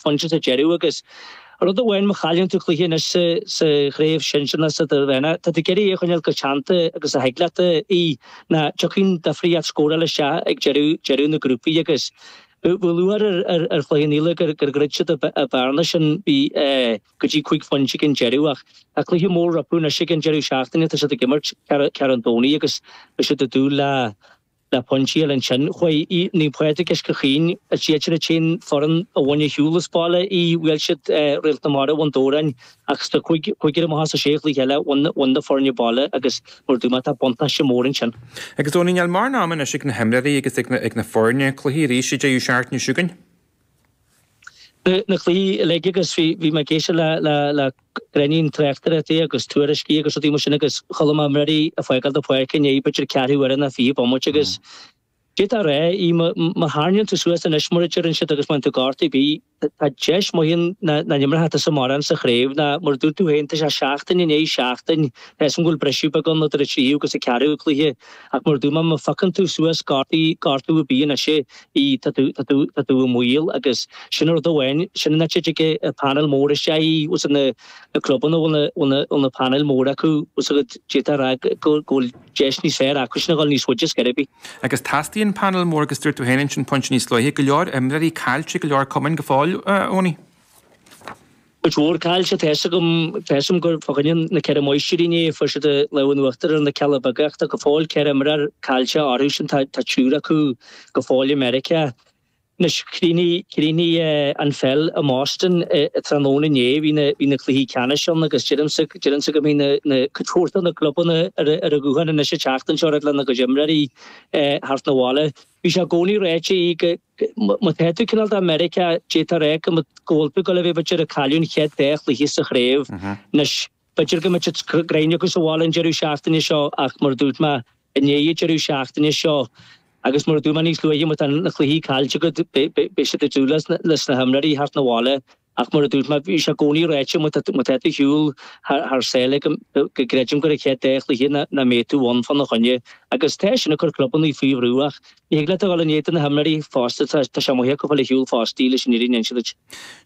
phointe sa deireadh agus rud amháin má chailleann tú cluiche anois sa chraobh shinsir nó sa idirmheánach, tá tú ag iarraidh é a choinneáil chomh teannta agus a thig leat í nó tiocfaidh an difríocht scórála isteach ag deireadh deireadh na grúpaí agus bhí lúcháir ar ar Chloich Cheann Fhaola gur gur dhruid siad an bhearna sin bhí go dtí 5 phointe ag an deireadh ach tá cluiche mór rompu anois ag an deireadh seachtaine tá siad ag imirt Ceathrú an Domhnaigh agus beidh siad ag dúil le le pointí eile ansin. Chuaigh Naomh Pádraig Uisce Chaoin, is iad sin an t-aon foireann a bhain ar shiúl as baile í, bhuail siad Réalt na Mara Bhun Dobhráin ach sna cúigear amach as an sé chluiche eile bhain na foirne baile agus mar a dúirt mé tá buntáiste mór ansin. Agus Owenie, níl mórán ama anois ag na himreoirí agus ag na foirne, cluichí arís an deireadh seachtaine seo chugainn. Na cluichí uilig agus bhí mé ag éisteacht le le Gráinnín tráchtaireachtaí agus tuairiscí agus rudaí mar sin agus chuala mé imreoirí ag fágáil na páirce i ndiaidh b'fhéidir ceathrú uaire nó 20 bomaite agus d'fhéadfá a rá í má tharraingíonn tú suas anois mar a deireann siad agus má fhaigheann tú gortú ar bith tá deis maith ann nach n-imreoidh tusa mórán sa chraobh ná mar a dúirt tú féin tá sé seachtain i ndiaidh seachtain tá 'fhios a'm go bhfuil briseadh beag ann idir an tríú agus an ceathrú cluiche ach mar a dúirt mé má phiocann tú suas gortú gortú ar bith anois í, tá tú, tá tú, tá tú i mbaol agus sin an rud amháin, sin an áit a dtig an painéal mór isteach í, bhfuil 's a'd na, na clubanna a bhfuil na, bhfuil na, bhfuil na painéil móra acu, bhfuil 's agat, d'fhéadfá a rá go, go bhfuil deis níos fearr acu sin a dhul níos faide ar scor ar bith. Agus teastaíonn painéal mór agus dúirt tú féin ansin pointe níos luaithe, go leor imreoirí caillte ag go leor cumainn go fóill, a Owenie. Cuid mhór caillte, tá 'fhios agam, tá 'fhios agam gur fá choinne na Ceithre Máistrí inné, fuair siad an lámh in uachtar ar na Cealla Beaga ach tá go fóill 14 imreoir caillte orthu sin, tá triúr acu go fóill i Meiriceá. Anois, chríochnaigh, chríochnaigh an pheil i mBoston tráthnóna inné, bhí na, bhí na cluichí ceannais ann agus deirimse, deirimse go mbeidh na, na, cuid mhór de na clubanna ar ar an ghuthán anois an tseachtain seo lena gcuid imreoirí theacht 'na bhaile. Bhí sé i gcónaí ráite go, Má tá tú cineál de Meiriceá, d'fhéadfá a rá go bhfuil tú ag dul a bheith b'fhéidir ag cailleadh an chéad dá chluiche sa chraobh. Anois, b'fhéidir go mbeidh siad greim acu sa bhaile an deireadh seachtaine seo ach mar a dúirt mé, i ndiaidh an deireadh seachtaine seo agus mar a dúirt mé níos luaithe, má tá na cluichí caillte agat, beidh siad ag dúil leis na himreoirí theacht 'na bhaile. Ach mar a dúirt mé, bhí sé i gcónaí ráite má tá tú ar shiúl thar sáile go gcreidim gur an chéad dá chluiche nach mbeidh tú ann fána choinne. Agus tá sin ag cur clubanna faoi bhrú ach ní thig leat a dhul in éadan na himreoirí fosta, tá sé maith acu fáil ar shiúl fosta leis an fhírinne a inse duit.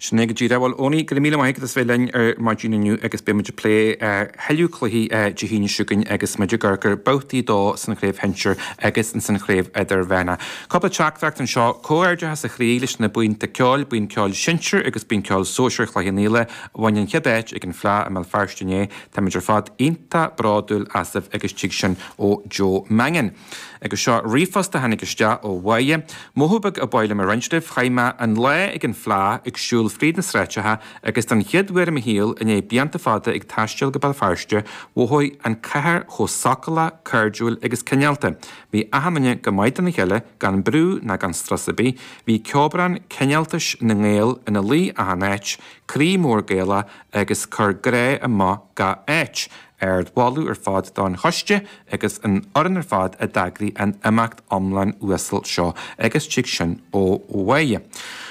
Sin é go díreach. Bhuel, Owenie, go raibh míle maith agat as bheith linn ar maidin inniu agus beidh muid ag plé thuilleadh cluichí Dé hAoine seo chugainn agus muid ag amharc ar babhtaí 2 san chraobh shinsir agus san chraobh idirmheánach. Cúpla teachtaireacht anseo, Comhghairdeachas ó chroí leis na buíonta ceoil, Buíon Ceoil Sinsir agus Buíon Ceoil Sóisir Chloich Cheann Fhaola a bhain an chéad áit ag an Fleadh i mBéal Feirste inné. Táimid ar fad iontach bródúil asaibh agus tig sin ó Joe Mangan. Agus seo ríomhphost a tháinig isteach ó Mháire. Mothú beag ab áil liom a roinnt libh. Chaith mé an lá ag an Fleadh ag siúl fríd na sráideacha agus don chéad uair i mo shaol i ndiaidh blianta fada ag taisteal go Béal Feirste, mhothaigh an cathair chomh socálach, cairdiúil agus cineálta. Bhí achan duine go maith dona chéile, gan brú ná gan strus ar bith. Bhí ceobhrán cineáltais na nGael ina luí achan áit, croí mór Gaelach agus cur grá amach gach áit. Ard-mholadh ar fad don choiste agus an fhoireann ar fad a d'eagraigh an imeacht iomlán uasal seo agus tig sin ó Mháire.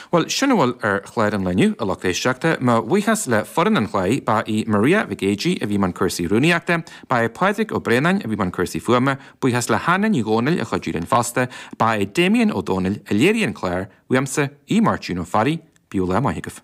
Bhuel, sin a bhfuil ar chlár an lae inniu, a lucht éisteachta. Mo bhuíochas le foireann an chláir, ba í Maria Mhic Éadaigh a bhí i mbun cúrsaí rúnaíochta, ba é Pádraig Ó Braonáin a bhí i mbun cúrsaí fuaime, Buíochas le hAnna Ní Dhomhnaill a chuidigh linn fosta. Ba é Damien Ó Dónaill a léirigh an clár, uaimse, Aodh Máirtín Ó Fearraigh, bíodh lá maith agaibh.